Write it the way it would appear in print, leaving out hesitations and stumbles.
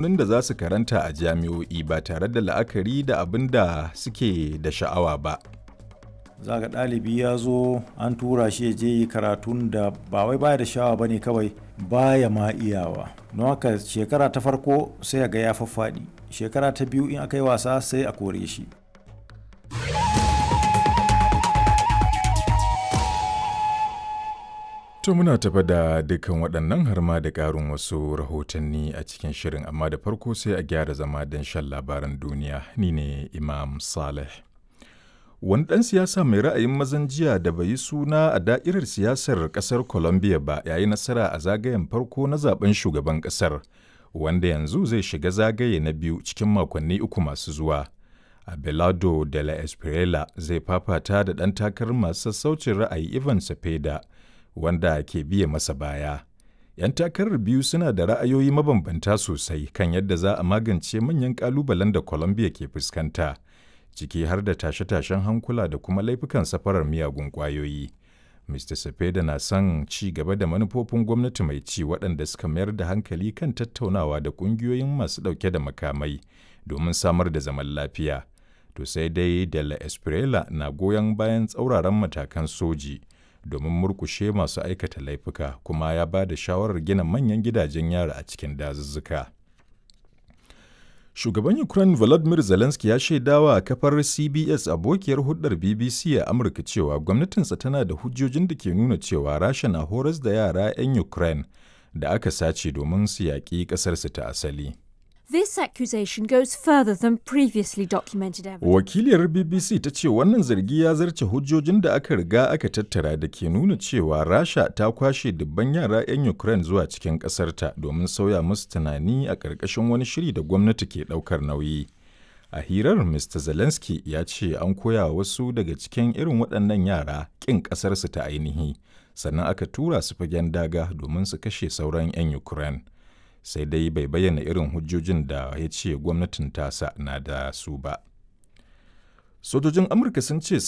Da za su karanta a jami'o'i ba tare da la'akari da abin da suke da sha'awa ba. Za ga ɗalibi ya zo an tura shi ya je yi karatun da ba wai baya da sha'awa ba ne, kawai baya ma iyawa. Don haka shekara ta farko sai ga ya faffaɗi, shekara ta biyu in aka yi wasa sai a kore shi. To muna tafa da dukkan waɗannan har ma da ƙarin wasu rahotanni a cikin shirin, amma da farko sai a gyara zama don shan labaran duniya. Ni ne Imam Saleh. Wani ɗan siyasa mai ra'ayin mazan jiya da bai yi suna a da'irar siyasar ƙasar Colombia ba ya yi nasara a zagayen farko na zaben shugaban ƙasar, wanda yanzu zai shiga zagaye na biyu cikin makonni 3 masu zuwa. Abelardo de la Espriella zai fafata da ɗan takarar masu sassaucin ra'ayi Ivan Cepeda, wanda ke biye masa baya. 'Yan takarar biyu suna da ra'ayoyi mabambanta sosai kan yadda za a magance manyan ƙalubalen da Colombia ke fuskanta, ciki har da tashe-tashen hankula da kuma laifukan safarar miyagun ƙwayoyi. Mr. Cepeda na son ci gaba da manufofin gwamnati mai ci waɗanda suka mayar da hankali kan tattaunawa da ƙungiyoyin masu ɗauke da makamai domin samar da zaman lafiya. To sai dai de la Espriella na goyon bayan tsauraran matakan soji domin murƙushe masu aikata laifuka, kuma ya ba da shawarar gina manyan gidajen yari a cikin dazuzzuka. Shugaban Ukraine Volodymyr Zelensky ya shaidawa kafar CBS, abokiyar hulɗar BBC a Amurka, cewa gwamnatinsa tana da hujjojin da ke nuna cewa Rasha na horas da yara 'yan Ukraine da aka sace domin su yaƙi ƙasarsu ta asali. This accusation goes further than previously documented evidence. Wakiliyar BBC ta ce wannan zargi ya zarce hujjojin da aka riga aka tattara da ke nuna cewa Rasha ta kwashe dubban yara 'yan Ukraine zuwa cikin ƙasarta domin sauya musu tunani a ƙarƙashin wani shiri da gwamnati ke ɗaukar nauyi. A hirar, Mr. Zelensky ya ce an koya wasu daga cikin irin waɗannan yara ƙin ƙasarsu ta ainihi, sannan aka tura su fagen daga domin su kashe sauran 'yan Ukraine. Sai dai bai bayyana irin hujjojin da ya ce gwamnatin tasa na da su ba. Sojojin Amurka sun ce sun